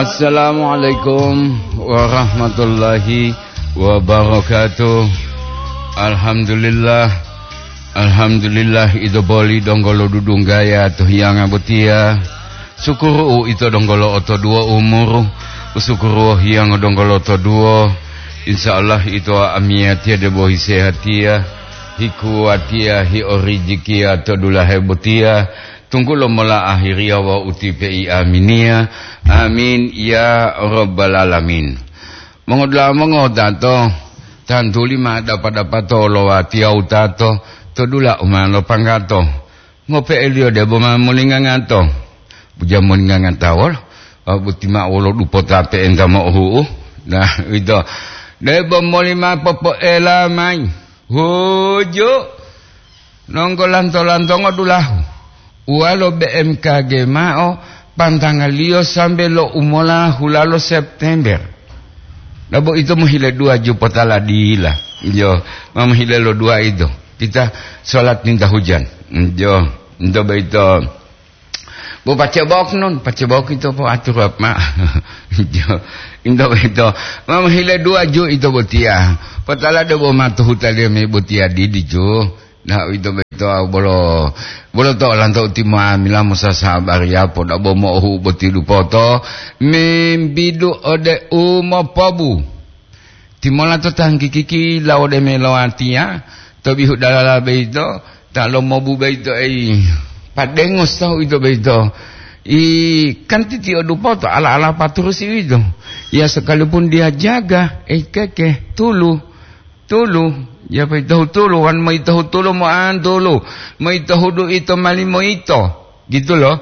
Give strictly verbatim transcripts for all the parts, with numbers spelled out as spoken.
Assalamualaikum warahmatullahi wabarakatuh. Alhamdulillah. Alhamdulillah, ito boli donggo lo dudunggaya to hiyanga botiya. Sukuru ito donggo lo otoduwo umuru. Usukuru hiyanga donggo lo otoduwo. Insya Allah ito amiyatiya debo hisehatiya, hikuwatiya, hiorijikiya to dulahe botiya. Tunggulo mola ahiriya wawu utipe'i aminiya. Amin ya rabbal alamin. Mongodula'a mongotato, tantuli ma dapa-dapato lo watiya wutato to dula u ma lopanggato. Ngope'eliyo debo ma molingangato. Buja molingangatawolo, a, boti ma'o wolo dupota pe'enta mo'ohu'u. Nah, ito. Debo moli ma popo'ela mayi. Huju. Nonggo lanto-lantongo dulahu, uwalo B M K G mao pantangaliyo sambe lo umola hulalo September. Dabo ito mohile dua jupota ladila. Iyo, ma mohile lo dua ito. Kita sholat minta hujan. Iyo, ito boyito. Bo pacebok nun, pacebok ito po atur apa? Ito, ito, ito. Mama hile dua ju ito botiya. Patala do bo matu hutaliyo me botiya didi ju. Nah, ito beto bolo, bolo to lanto utimo amila musa sabariya po dabo mohu boti dupoto. Membidu ode umopobu. Timola to tanggikiki lawode melowatiya, to bihu dalala boyito, ta lomobu boyito ei, padengos tahu ito boyito. I, kan titiyo dupoto ala-ala paturusi uwito. Ya, sekalipun dia jaga, ei keke, tulu, tulu, ya boyito tulu, wan moyito tulu mo'an tulu, moyito hudu ito mali moyito, gitu loh.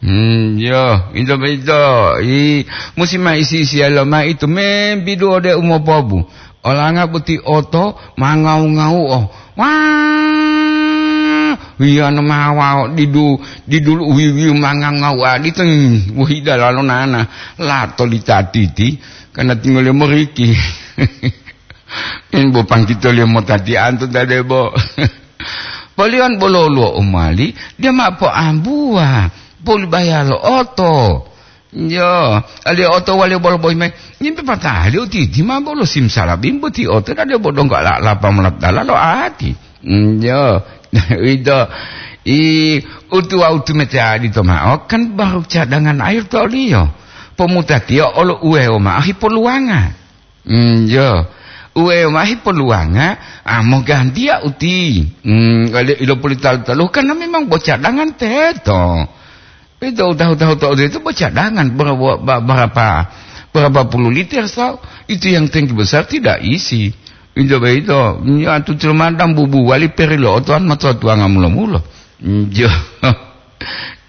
Hmm, yo, ito boyito, i, musi ma isi-isiya lomai itu membidu ode umopobu. Olanga boti oto ma ngau-ngau'o. Wah, wiyano ma wao didu, didulu wiwi ma ngau-ngau adito, hmm, wohi dalalo nana. Lato litatiti, karena tinggal moriki. In bo pangkitoliyo motatianto ta debo. Poliyon bolo luwo umali, dia ma poambuwa, polibaya lo oto. Yo, ali oto wali bolo boyi mai. Nyimpe patali utiti ma bolo simsalabim boti oto dade bodonggo ala-alapa molatala lo ati. Yo, ito, i, utuwa utumete adito ma'o, kan baru cadangan air to oliyo. Pomutatiyo olo uwewo ma'o hipoluwanga. Mm, yo. Uwe mahi poluwanga, a, mogantiya uti. Mm, wale ilo puli talu-talu, karena memang bocadangan teto. Itu tahu-tahu to itu bocadangan, berapa, berapa, berapa puluh liter, so. Itu yang tangki besar tidak isi. Itu begitu. Ya, tu cuma bubu wali peri lo otoan matoa tuanga mulo-mulo. Mm, yo.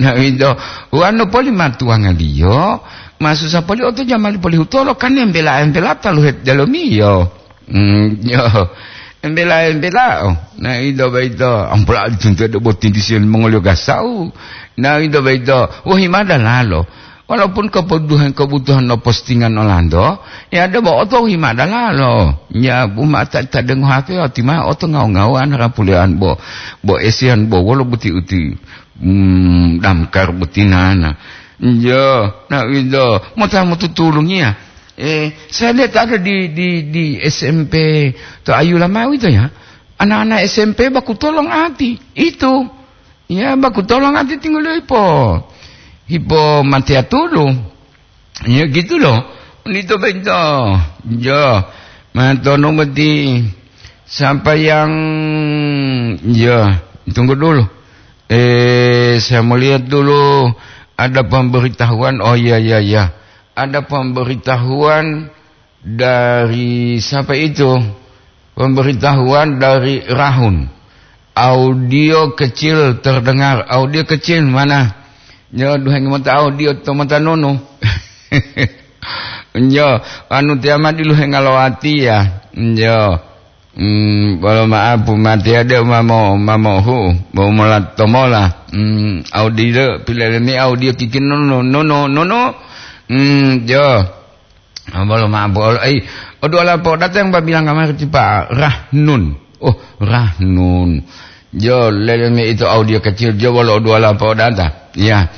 Na uwito, wonu poli matuwangaliyo, masusa poli oto jamali poli hutolo, kan embela-embela taluhe delomiyo. Mm, yo, embela-embelao. Na ito boyito, ampola dituntuwa debo tindisiyo limongoliyo gasau. Na ito boyito, wohi mada lalo. Walaupun kebutuhan-kebutuhan lo postingan olanto, ya debo oto wohi mada lalo. Ya, bu mata ta dengo H P, oti ma oto ngau-ngauan rapulean bo, bo esian bo wolo buti-uti. Hmm, damkar botinana. Iya, na ida, mota motutulungiya. Eh, saya lihat ada di, di, di S M P to Ayu Lamawi to ya. Anak-anak S M P baku tolong ati. Itu. Ya, baku tolong ati tinggal hipo. Hipo matia tulu. Ya gitu loh. Nito bento. Ya. Matono mati. Siapa yang, ya, tunggu dulu. Eh, saya mau lihat dulu ada pemberitahuan. Oh, iya, iya, iya. Ada pemberitahuan dari siapa itu? Pemberitahuan dari Rahun. Audio kecil terdengar. Audio kecil mana? Yo, duhengi mota audio to mota nunu. Yo, anu tiama diluhenga lo ati ya. Yo. Hmm, bolo ma'apu mati ade mamo, mamohu, bo mola tomola. Hmm, audio, pilelemi audio kikin nunu, nunu, nunu. Hmm, yo. Ah, bolo ma'apu, olo, ai, oduala po datang babilang kamari tipa Rahnun. Oh, Rahnun. Yo, lelemi itu audio kecil, yo, bolo oduala po data. Ya.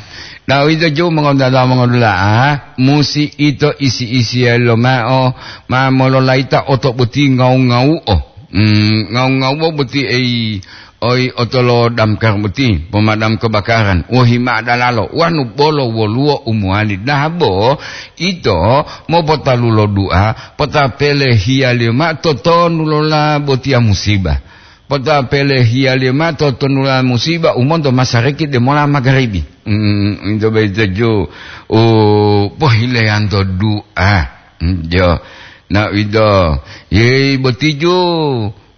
Dawito ju mongodada mongodula'a, musi ito isi-isiyali lomao, ma mololayita oto boti ngau-ngau'o. Hmm, ngau-ngau'o boti ei, oi otolo damkar boti, pemadam kebakaran. Wohi ma'o dalalo, wanu bolo woluwo u mowali dabo, ito mopotalu lo du'a, potapele hiyaliyo ma'o totonu lola botiya musiba. Potapele hiyaliyo ma'o totonula musiba u monto masariki demola magaribi. Mm, ito boyito ju u pohileyanto du'a. Mm, jo. Na ito, yeyi boti ju,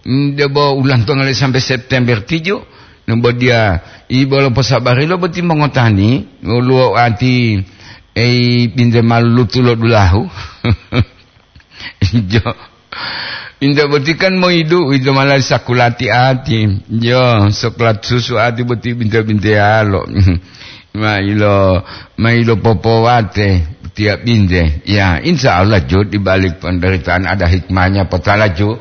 mm, debo ulantonga le sampai September tiju. Nembodiya, ibolo posabarilo boti mongotani, woluwo ati, ei, binte malutu lo dulahu. Jo. Inta boti kan moidu, ito malah sakulati ati. Jo, soklat susu ati boti binte-binteyalo. Mailo, mailo popowate tiap binte. Ya, insya Allah, Jo, di balik penderitaan ada hikmahnya, potala, Jo.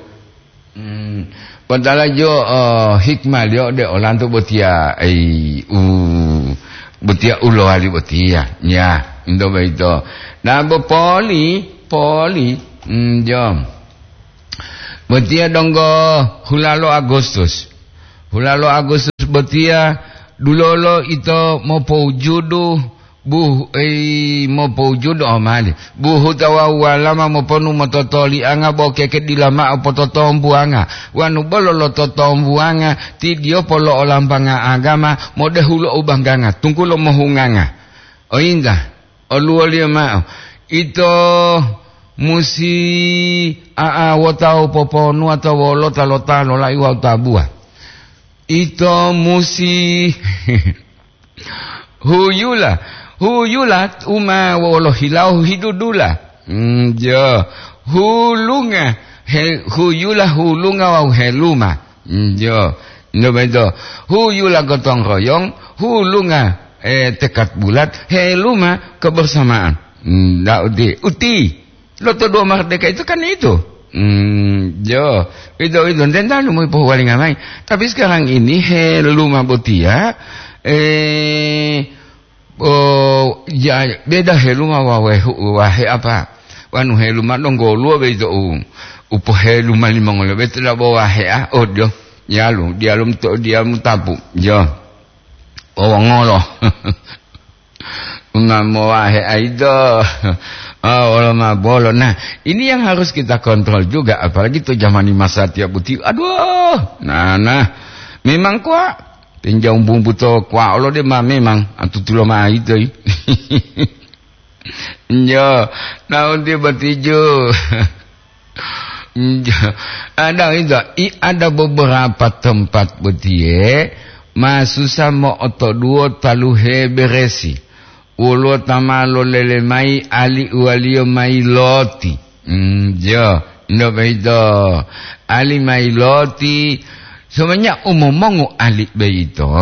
Hmm, potala, Jo, eh, hikmah liyo de olanto botiya, ei, u, botiya ulowali botiya. Ya, ento boyito. Nah, bo poli, poli, hmm, Jo. Botiya donggo hulalo Agustus. Hulalo Agustus botiya dulolo ito mopoujudu buh-, ei, mopoujudu omali. Buhuta wawu walama moponu mototolianga bo keke dila ma'o pototombuwanga. Wanu bolo lototombuwanga, ti diyo polo'olambanga agama modehulo u bangganga, tunggulo mohunganga. Oyinta, oluwoliyo ma'o, ito musi a'a wota u poponuwa to wolota lo ta lolai wawu tabuwa. Ito musi huyula, huyula uma wolo hilawo hidudula. Mm, jo. Hulunga, he-, huyula, hulunga wawu heluma. Mm, jo. Nyo boyito, huyula gotong royong, hulunga, eh, tekad bulat, heluma kebersamaan. Mm, da uti, uti. Lo to dua merdeka itu kan itu. Hmm, jo, itu, itu, nte ntanu mau pohuwalinga mayi. Tapi sekarang ini heluma botiya, eh, oh, ya, beda heluma wawehu, wahe apa? Wanu heluma donggoluwo beito u, upo heluma limongoliyo beito dabo wahe, ah, oh, dio, dialu, dialu to, dialu tapu, jo. Wawongolo. Una mowahe aido. Ah, wolo ma bolo. Nah, ini yang harus kita kontrol juga, apalagi to jamani masa tiap buti. Aduh, nah, nah. Memang kuwa, tenjau bumbu to kuwa olo de ma memang atutulo ma aido. Njo, naunti botiju. Njo, ada itu, i, ada beberapa tempat botiye, masusa mo'otoduwo taluhe beresi. Woluwo ta ma lolele mayi ali uwaliyo mayi loti. Mm, jo, ndo boyito. Ali mayi loti, semenjak umomongu ali boyito,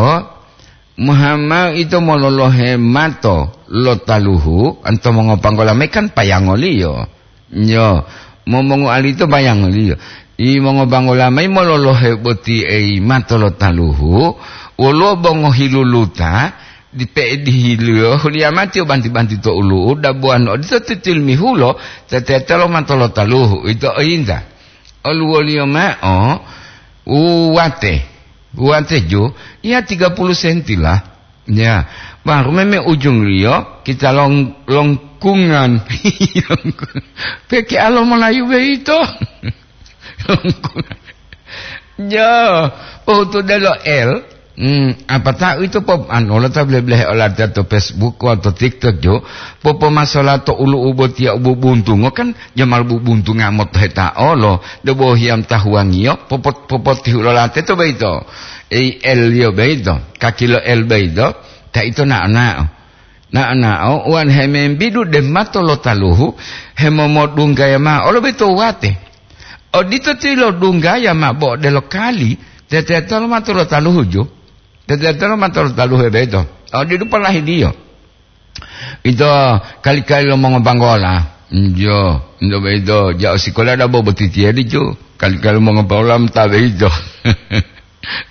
Muhamad ito mololohe mato lo taluhu, anto mongopanggola mayi kan payangoliyo. Nyo, momongu ali ito payangoliyo. I mongopanggola mayi mololohe boti ei mato lo taluhu, woluwo bongo hiluluta, dipe'e dihiliyo huliyamati o banti-banti to ulu'u, dabuwano odito titilmihulo, tetetelo mato lo taluhu, ito oyinta. Oluwoliyo ma'o, uwate, uwate jo, ya tiga puluh senti lah. Ya, baru meme ujungliyo kita long-, longkungan. Peke alo Melayu boyito. Longkungan. Ya, oh, to delo L. Hmm, apata'u ito pop-, anu, lo ta bele-belehe olatiya to Facebook wawu to TikTok jo, popomasola to ulu'u botiya u bubuntungo, kan jamal bubuntunga motoheta olo, debo hiyam tahuwangiyo, popot-, popotihu lo late to boyito. Ei L-liyo boyito, kaki lo L boyito, ta ito nao-nao. Nao-nao, wonu hemembidu de mato lo taluhu, hemomodunggaya ma'o olo boyito wate. Odito tilodunggaya ma'o bo odelo kali, tetetelo mato lo taluhu ju. Tetetelo mato lo taluhu boyito. Odidu polahidiyo. Ito kali-kali lo mongobanggola. Njo, njo boyito, ja'o sikola dabo botitiye dicu. Kali-kali lo mongobanggola mota boyito.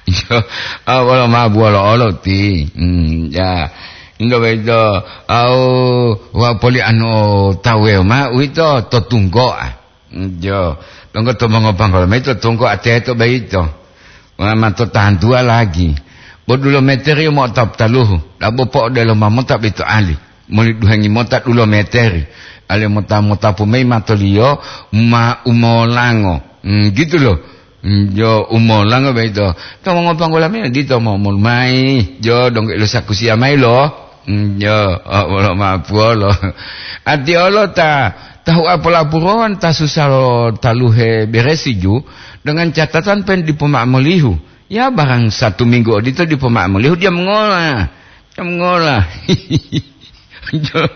Njo, ah, wolo mabu wolo olo ti. Hmm, ya. Ndo boyito, au wa poli anu tawewo ma uwito to tunggo'a. Jo, donggo to mongopanggola mayi to tunggo'a teto boyito. Wa ma to tantuwa lagi. Bo dulo meteri mo taluhu, dabo po'odelo ma mota boyito ali. Moli duhengi mota dulo meteri. Ali mota-motapu mayi matoliyo ma umolango. Hmm, gitu loh. Hmm, jo umolango boyito. To mongopanggola mayi dito mo, mo mayi. Jo donggo ilo sakusiya mayi lo. Hmm, jo, oh, wolo mapuwolo. Ati olo ta, tahu apolapurowan ta susa lo taluhe beresi ju, dengan catatan pen dipo ma'amolihu. Ya, barang satu minggu odito dipo ma'amolihu, dia mengola. Dia mengola. Jo.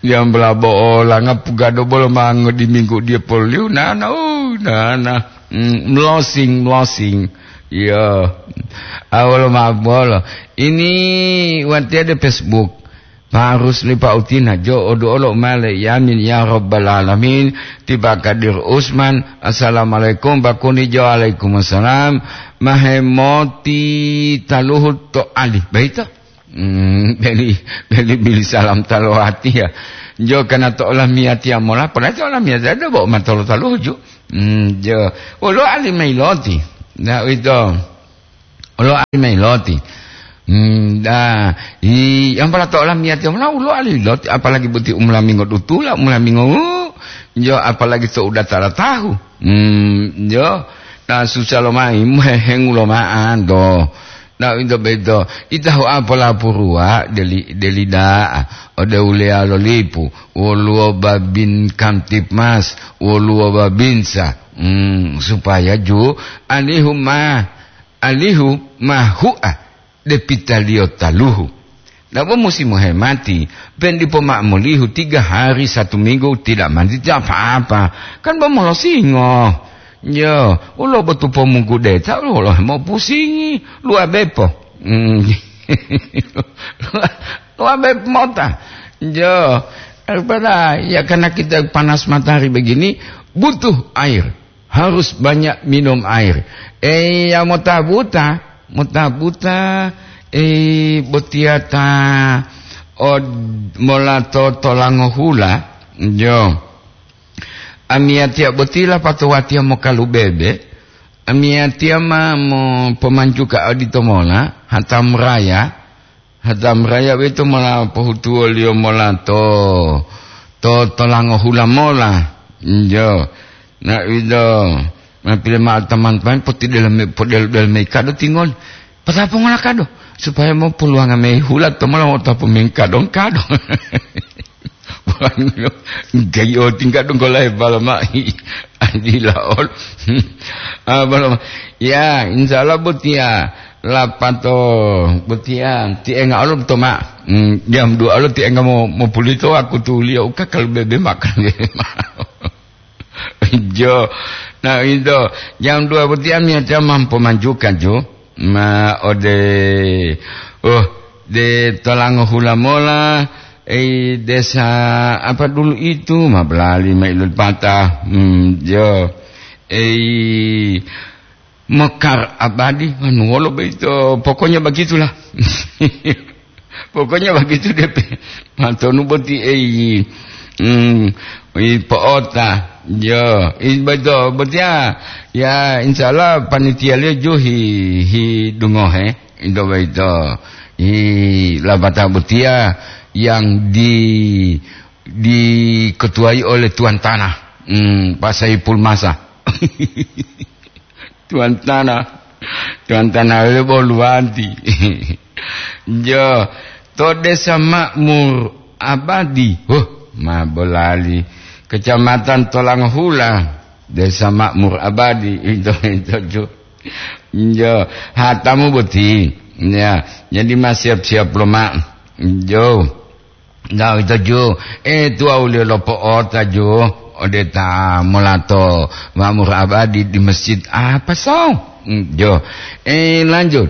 Jam bela bo olanga pugado bolo mango di minggu dia poliu nana, oh, nana. Mm, melosing, melosing. Iya. Awalo ma bolo. Ini wati ada Facebook. Harus lipa utina jo odu olo male yamin ya rabbal alamin. Tiba Kadir Usman. Assalamualaikum bakuni jo alaikum assalam. Mahemoti taluhu to ali. Baita. Hmm, beli, beli, bili salam talowati ya. Jo kana to olamiyatiya mola, pala to olamiyatiya ada bo matolo taluju. Hmm, jo. Olo ali mailoti. Nah, itu. Olo ali mailoti. Hmm, dah, i, yang pala to olamiyatiya mola, ulo ali loti, apalagi buti umlamingo dutula, umlamingo, jo, apalagi to udah tala tahu. Hmm, jo. Nah, susah lo mai, muhehengu lo maan do. Nah, itu beto. Ita ho apa lapuruwa deli, deli da'a. Ode uleya lo lipu. Woluwo babin kamtipmas. Woluwo babinsa. Hmm, supaya ju alihu ma, alihu ma hu'a depitaliyo taluhu. Nabo musi mohemati, pen dipo ma'amolihu tiga hari satu minggu tidak mandi tidak apa-apa. Kan bo molosingo. Yo, ulo botu pomunggu deta, ulo mo pusingi, luwa bepo. Hmm. Luwa bepo mota. Yo, daripada ya karena kita panas matahari begini, butuh air. Harus banyak minum air. Eh, ya mota buta, mota buta, eh, botiya ta od-, mola to tolango hula, jo. Amiyatiya boti lapatowatiya mokalubebe, amiyatiya ma mopomanjuka odito mola, hatam raya, Hatam raya boyito mola pohutuwoliyo mola to, to tolango hula mola. Injo. Na ido, ma pile ma'o taman-taman potidelo me-, podelo-delo mayi kado tingoli. Pata pongola kado, supaya mopoluwanga mayi hula to mola motapu mayi kado-kado. Wanu, gayi o tingga donggo lahe balo ma'i. Adila ol. Ah, balo ma-, ya, insya Allah botiya. Lapato botiya, ti enga olo to ma. Hmm, jam dua olo ti enga mo, mopulito aku tuliyo uka kalu bebe makan bebe ma. Jo. Nah, itu jam dua botiya miyatiya mampu manjuka, jo. Ma ode, oh, de tolango hula mola, eh, desa apa dulu itu, ma belali ma ilul patah. Hmm, jo. Eh, Mekar Abadi, anu wolo boyito, pokoknya begitulah. Pokoknya begitu depe. Matonu boti, eh, hmm, i po'ota. Yo, i beto, botiya, ya, insya Allah panitia liyo ju hi, hi dungohe, into boyito. Hi labata botiya yang di, diketuai oleh tuan tanah. Hmm, Pak Saipul Masa. Tuan tanah. Tuan tanah lebo luwanti. Jo, to Desa Makmur Abadi. Huh, ma bolali. Kecamatan Tolangohula. Desa Makmur Abadi. Itu, itu, jo. Jo, hatamu boti. Ya, jadi ma siap-siap lo, Mak. Jo. Nah, itu ju, eh, tuwa uliyo lopo'ota ju, ode ta molato Makmur Abadi di masjid apa so? Hmm, jo. Eh, lanjut.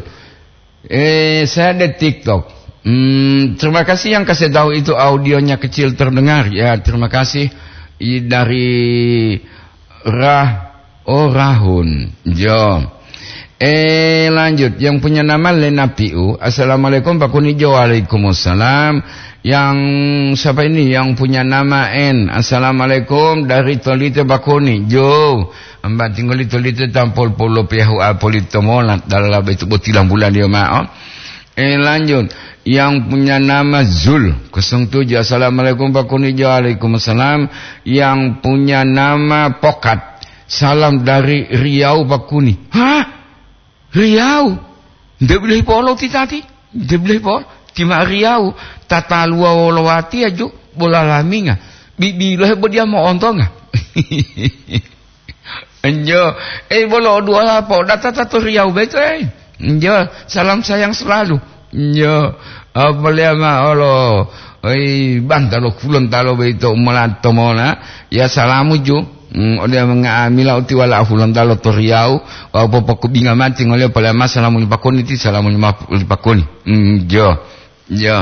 Eh, saya di TikTok. Hmm, terima kasih yang kasih tahu itu audionya kecil terdengar. Ya, terima kasih. I, dari Rah, oh, Rahun. Jo. Eh, lanjut. Yang punya nama Lena Piu. Assalamualaikum, Pak Kuni Jo. Waalaikumsalam. Yang siapa ini? Yang punya nama N. Assalamualaikum, dari Tolite, Pak Kuni Jo. Mbak tinggal di Tolite, tampol polo piahu apolito mola. Dalala betu botilang bulan dia, Mak, oh. Eh, lanjut. Yang punya nama Zul, kosong tujuh. Assalamualaikum, Pak Kuni Jo. Waalaikumsalam. Yang punya nama Pokat. Salam dari Riau, Pak Kuni. Hah? Riau? Nde bilahi polo ti tati? Nde bilahi polo? Ti ma Riau. Tataluwa wolo watiya ju, bola laminga. Bibilohe bo diya mo'ontonga. Enjo, eh, bolo o duola podata ta to Riau beto, eh. Enjo, salam sayang selalu. Enjo, apalea ma olo, oi, banta lo Hulontalo beto umalato mona, ya salamu ju. Hmm, ode nga'amila uti wala Hulontalo to Riau, wa popokubinga mati ngoleo palea ma salamu li Pak Kuni ti, salamu li ma-, li Pak Kuni. Enjo, enjo.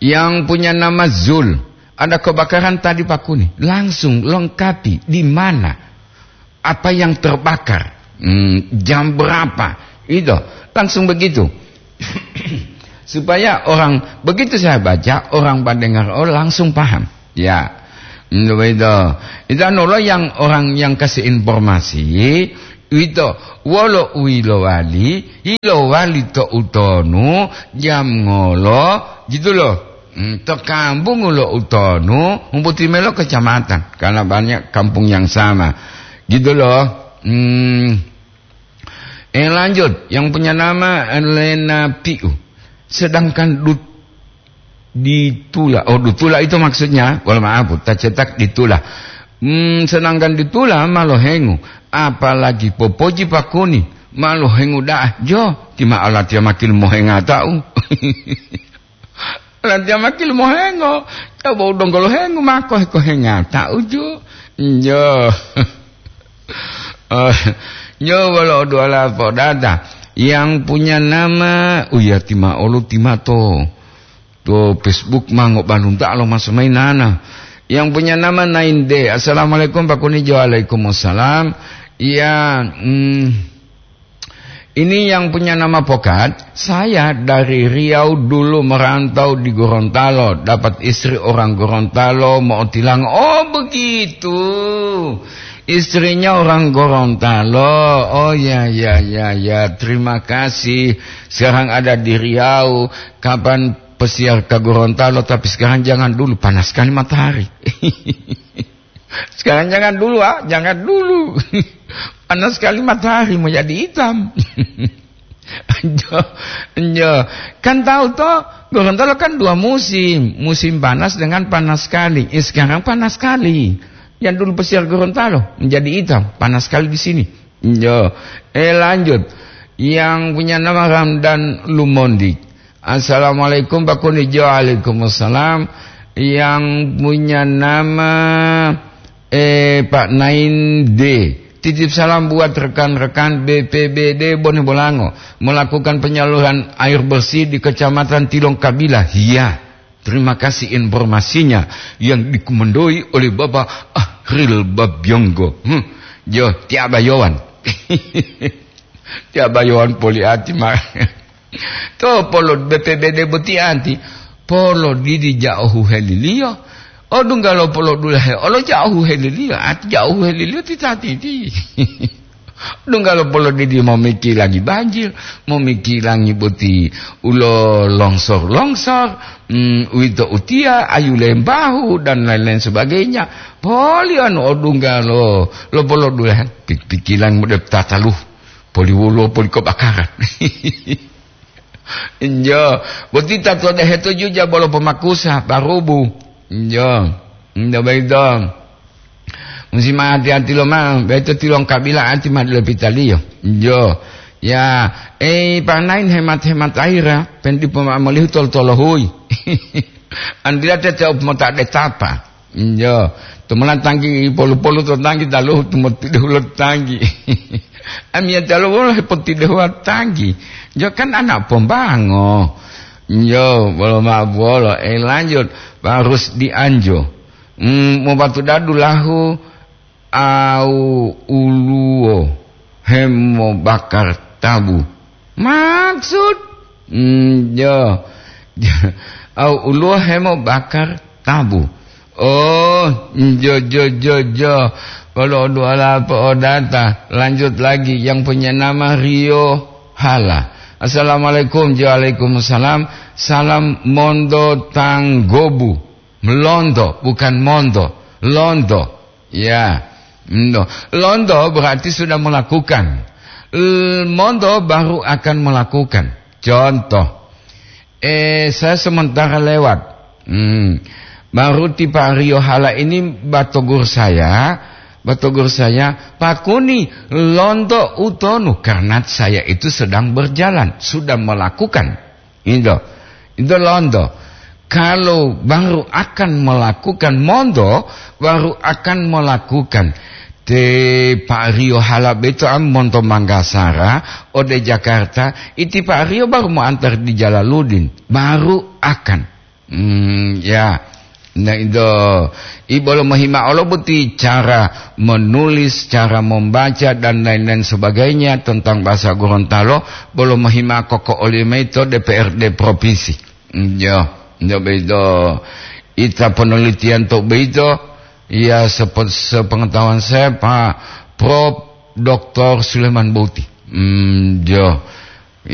Yang punya nama Zul, ada kebakaran tadi, Pak Kuni. Langsung lengkapi di mana, apa yang terbakar, hmm, jam berapa, itu langsung begitu. Supaya orang, begitu saya baca, orang mendengar, oh, langsung paham. Ya. Hmm, begitu. Itu anu lo yang orang yang kasih informasi, uwito, wolo u yilowali, yilowali to utonu, jam ngolo, gitu loh. Hmm, to kambungu lo utonu, humbuti melo kecamatan, karena banyak kampung yang sama. Gitu loh. Hmm. Eh, lanjut, yang punya nama Lena Piu. Sedangkan dut-, ditula, oh, dutula itu maksudnya, wala maaf, ta cetak ditula. Hmm, sedangkan ditula ma lohengu, apalagi popoji Pak Kuni, ma lohengu da'a, jo, ti ma alatiya makil mohengata'u. Alatiya makil mohengo, coba u donggo lohengu mako hekohengata'u, jo. Jo. Oh, nyo wolo duala podata yang punya nama, uya, tima olo timato. To Facebook ma ngobalunta lo maso mainana. Yang punya nama Nainde. Assalamualaikum, Pak Kuni Jo. Waalaikumsalam. Ya, mm, ini yang punya nama Pokat. Saya dari Riau, dulu merantau di Gorontalo. Dapat istri orang Gorontalo, mau tilang. Oh, begitu. Istrinya orang Gorontalo. Oh, ya, ya, ya, ya. Terima kasih. Sekarang ada di Riau. Kapan pesiar ke Gorontalo, tapi sekarang jangan dulu, panas sekali matahari. Sekarang jangan dulu, ah, jangan dulu. Panas sekali matahari, mau jadi hitam. Jo, jo. Kan tahu toh, Gorontalo kan dua musim, musim panas dengan panas sekali. Eh, sekarang panas sekali. Yang dulu pesiar Gorontalo menjadi hitam, panas sekali di sini. Jo. Eh, lanjut. Yang punya nama Ramdan Lumondi. Assalamualaikum, Pak Kuni Jo. Waalaikumsalam. Yang punya nama, eh, Pak Nainde. Titip salam buat rekan-rekan B P B D Bone Bolango melakukan penyaluran air bersih di Kecamatan Tilong Kabila. Iya. Terima kasih informasinya yang dikomandoi oleh Bapak Ahril Babyonggo. Hmm, jo, tiaba yowan. Tiaba yowan poli ati ma. To polo B P B D boti ati. Polo didi ja'o huheliliyo. Odunggalo polo dulahe olo ja'o huheliliyo. Ati ja'o huheliliyo tita titi. Dunggalo polodidi momikilangi banjir, momikilangi boti ulo longsor-longsor, mm, uwito utiya, ayu lembahu, dan lain-lain sebagainya. Poli anu odunggalo, lo polodulahan, pik-, pikilang mode tatalu, poli wolo, poli kobakaran. Injo, boti tatodehe to juja bolo pomakusa, parubu. Injo, injo boyito. Musi ma ati-ati lomao, boyito tilongkabila ati ma dila pitaliyo. Injo, ya, ei, panain hemat-hemat aira, pen dipo ma molihu tolo-tolohui. Andila tete op mota detapa. Injo, tumula tanggi polu-polu to tanggi taluhu tumotidehulo tanggi. Amiyatiya lo wolo hepotidehuwa tanggi. Injo kan anak pombango. Injo, bolo ma'o buwolo. Eh, lanjut, Pak Rusdi Anjo. Hmm, mopatudadu lahu au uluwo. hemobakar tabu. Maksud? Hmm, jo. Au uluwo hemobakar tabu. Oh, jo, jo, jo, jo. Kalau dua apa odata, lanjut lagi yang punya nama Rio Hala. Assalamualaikum, jo, waalaikumsalam. Salam Mondo Tanggobu. Londo, bukan Mondo. Londo. Ya. Londo. Londo berarti sudah melakukan. L-, Mondo baru akan melakukan. Contoh. Eh, saya sementara lewat. Hmm. Baru ti Pak Rio Hala ini batogur saya, batogur saya, "Pak Kuni, londo utonu," karena saya itu sedang berjalan, sudah melakukan. Itu, itu londo. Kalau baru akan melakukan, Mondo baru akan melakukan. Te Pak Rio Hala beto am monto Manggasara ode Jakarta, iti Pak Rio baru mau antar di Jalaludin, baru akan. Hmm, ya. Nah, itu, i bolo mohima olo boti cara menulis, cara membaca, dan lain-lain sebagainya tentang bahasa Gorontalo, bolo mohima koko oli maito D P R D provinsi. Hmm, ya, ya, begitu. Ita penelitian to begitu, ya, sepe-, sepengetahuan saya, Pak Prof Doktor Suleman Boti. Hmm, ya.